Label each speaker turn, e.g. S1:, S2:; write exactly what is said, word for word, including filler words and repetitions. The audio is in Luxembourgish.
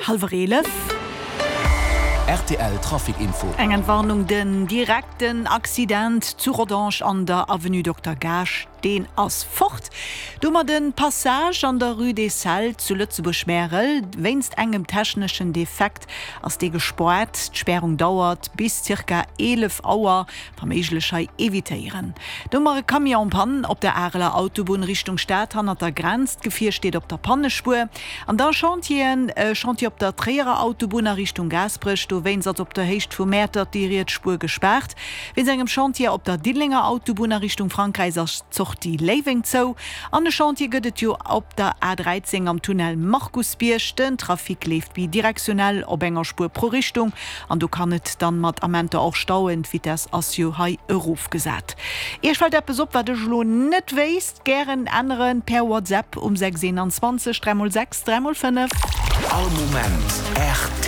S1: Hallwer eelef.
S2: R T L Trafic Info.
S1: Eng Entwarnung, Den direkten Accident zu Rodange an der Avenue Dokter Gaasch, deen ass fort. Domat den Passage an der Rue des Celles zu Lëtzebuerg-Märel, wéinst engem techneschen Defekt ass dee gespaart. D'Spärung dauert bis zirka eelef Auer. Wa méiglech hei evitéieren. Domat e Camion en panne op der Areler Autobunn Richtung Stad hannert der Grenz. D'Gefier steet op der Pannespuer. An da Chantieren, e Chantier op der Tréierer Autobunn a Richtung Gaasperech, dowéinst ass op der Héicht vu Mäertert déi riets Spuer gespaart. Wéinst engem Chantier op der Diddelenger Autobunn a Richtung Frankräich ass d'Sortie Léiweng zou. An e Chantier gëtt et jo op der A dräizéng am Tunnel Markusbierg. Den Trafic leeft bidirektionell op enger Spuer pro Richtung an do kann et dann mat Amenter och stauen. D'Vitess ass jo hei erofgesat. Iech fält eppes op, wat ech elo net wéisst? Gären änneren per WhatsApp um sechs eenanzwanzeg dräi mol sechs dräi mol fënnef.
S2: All Moment R T L.